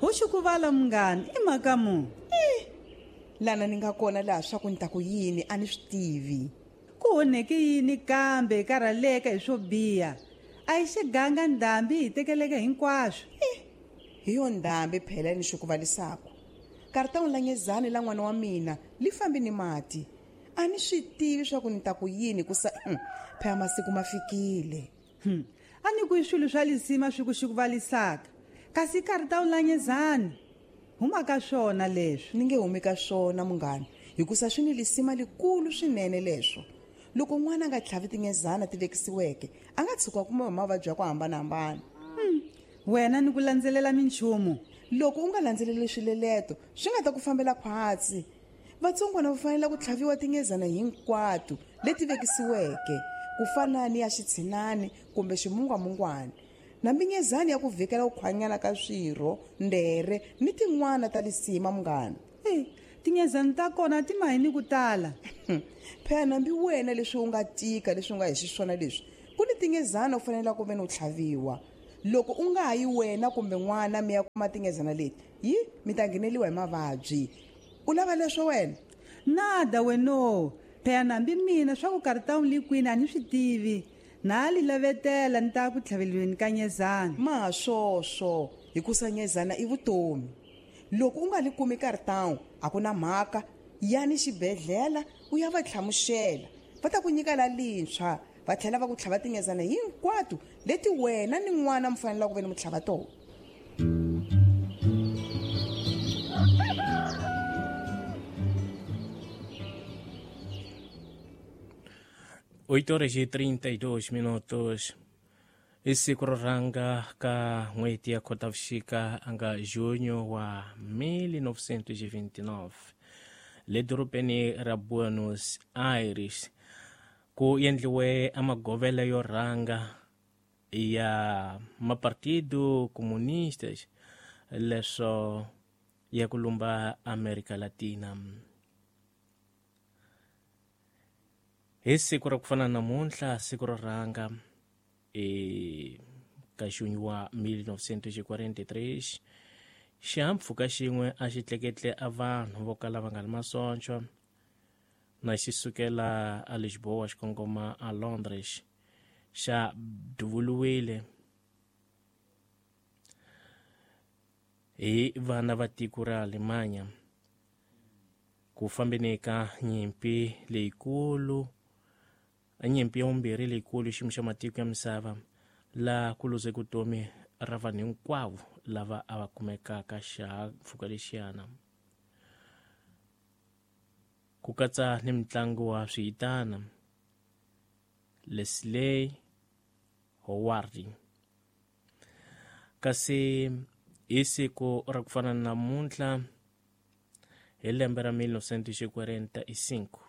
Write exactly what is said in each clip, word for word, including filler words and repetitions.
Ho xikuvala munghana i mhaka mu eh lana ni nga kona laha swa ku ni ta ku yini a ni swi tivi. Ku honeke yini kambe karhaleka hi swo biha? A yi xiganga ndhambi hi tekeleke hinkwaswo. Eh hi yo ndhambi phela ni xikuvalisako. Karita la nyezani la n'wana wa mina li fambi ni mati. A ni swi tivi swa ku ni ta ku yini ku sa phela masiku ma fikile. Hmm. A ni ku swilo swa lisima swi ku xikuvalisaka. Kasi karita la nyezani huma ka swona leswi. Ni nge humi ka swona munghana hikusa swi ni lisima likulu swinene leswo. Loko n'wana a nga tlhavi tinyezana ti vekisiweke a nga tshuka kuma hi mavabyi ya ku hambanahambana. Hmm. Wena ni ku landzelela minchumu. Loko u nga landzeleli swileleto swi nga ta ku fambela khwatsi. Vatsongwana va fanele ku tlhaviwa tinyezana hinkwato leti vekisiweke ku fana ni ya xitshinani kumbe ximungwamungwana na minyezani ya ku vhikela ku khwanyana ka swirho, ndere ni tin'wana ta lisima munghana. Eh, tinyezani ta kona ti mahini ku tala. Phela nambi wena leswi u nga tika leswi u nga hi xiswona leswi ku ni tinyezana u fanele ku ve ni u tlhaviwa. Loko u nga hayi wena kumbe n'wana mi ya kuma tinyezana leti yi mi ta ngheneliwa hi mavabyi. U lava leswo wena? Nada weno. Phela nambi mina swa ku karita u li kwini a ni swi tivi. Na li lavetela ni ta ku tlhavelweni ka nyezana. Ma swoswo hikusa nyezana i vutomi. Loko u nga li kumi karitawu a ku na mhaka, yani xibedhlele u ya va tlhamuxela. Va ta ku nyika la lintshwa va tlhela va ku tlhava tinyezana hinkwato leti wena ni n'wana mi fanele ku ve ni mu tlhava tona. oito horas e trinta e dois minutos. I siku ro rhanga ka n'hweti ya Khotavuxika anga junho wa mil novecentos e vinte e nove le dorobeni ra Buenos Aires ku endliwe amagovela yo rhanga ya mapartido comunistas leswo ya ku lumba America Latina. Hi siku ra ku fana namuntlha, siku ro rhanga e ka junho wa mil novecentos e quarenta e três, xihahampfhuka xin'we a xi tleketle a vanhu vo kala va nga ri masocha na xi sukela a Lisboa xi kongoma a Londres xa duvuriwile hi vana va tiko ra Alemanya ku fambeni ka nyimpi leyikulu, nyimpi ya vumbirhi leyikulu xiyimo xa matiko ya misava laha ku luze vutomi ra vanhu hinkwavo lava a va kumekaka xihahampfhuka lexiyana, ku katsa ni mutlangi wa swihitana Leslie Howard. Kasi hi siku ra ku fana na namuntlha hi lembe ra mil novecentos e quarenta e cinco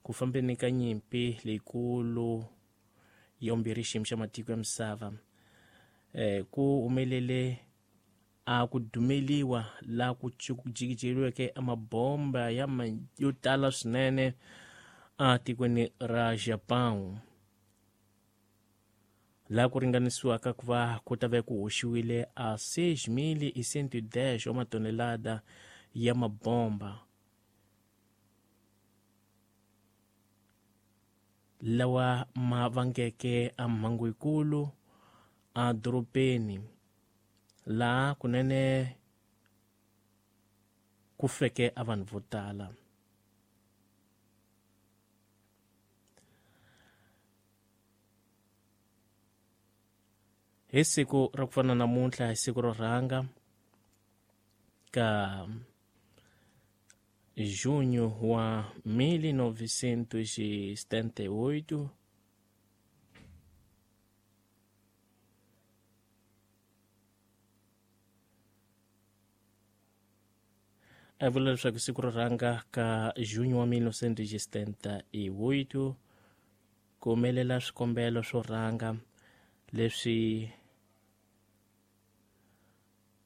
ku fambeni ka nyimpi leyikulu ya vumbirhi xiyimo xa matiko ya misava eh ku humelele a ku dumeliwa la ku jikijeliweke amabomba ya yo tala swinene a tikweni ra Japan la ku ringanisiwaka ku va ku ta ve ku hoxiwile a seis mil e cento e dez wa matonelada ya mabomba lawa ma vangeke a mhangu yikulu a dorobeni laha kunene ku feke a vanhu vo tala. Hi siku ra ku fana namuntlha, hi siku ro rhanga ka junho wa mil novecentos e setenta e oito, a vula leswaku siku ro rhanga ka junho wa mil novecentos e setenta e oito ku humelela swikombelo swo rhanga leswi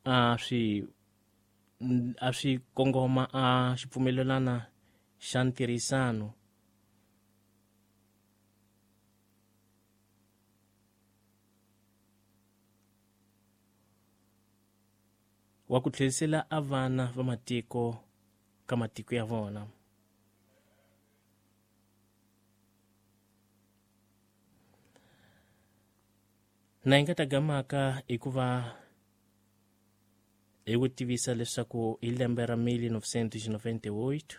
a swi a swi kongoma a xipfumelelana xa ntirhisano wa ku tlherisela a vana va matiko ka matiko ya vona. Na hi nga ta gamaka hikuva hi ku tivisa leswaku hi lembe ra mille novecentos noventa e oito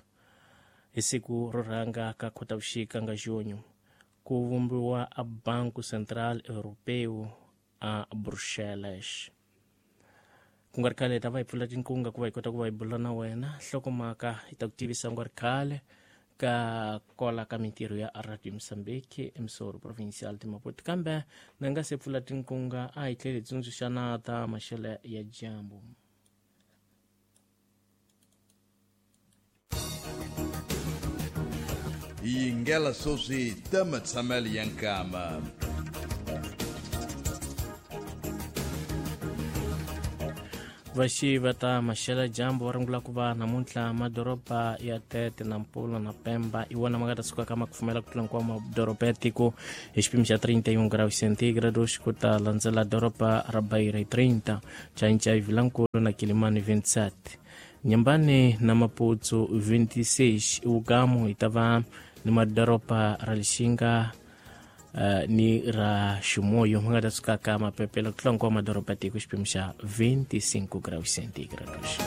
hi siku ro rhanga ka Khotavuxika nga junho ku vumbiwa a Banco Central Europeu a Bruxelles. Ku nga ri khale hi ta va hi pfula tinkunga ku va hi kota ku va hi bula na wena nhlokomhaka hi ta ku tivisa nga ri khale ka kola ka mintirho ya Radio Mozambique emisoro provincial de Maputo, kambe na nga se pfula tinkunga a hi tlheli hi tsundzuxana ta maxelo ya dyambu. Yingela sweswi ta matshamelo ya nkama. Vaxi va ta maxela dyambu va rungula ku va namuntlha madoroba ya Tete na Nampula na Pemba i wona ma nga ta suka ka ma kufumela ku tlula hinkwawo madoroba ya tiko hi xipimo xa trinta e um graus centígrados, ku ta landzela doroba ra Beira hi trinta, Chaincha Vilankulu na Quilimane vinte e sete, Nyambane na Maputo vinte e seis, Ugamu hi ta va ni madoroba ra Lixinga Uh, ni ra Ximoyo ma nga ta suka ka mapepela ku tlula hinkwawo madoroba ya tiko xipimo xa vinte e cinco graus centígrados.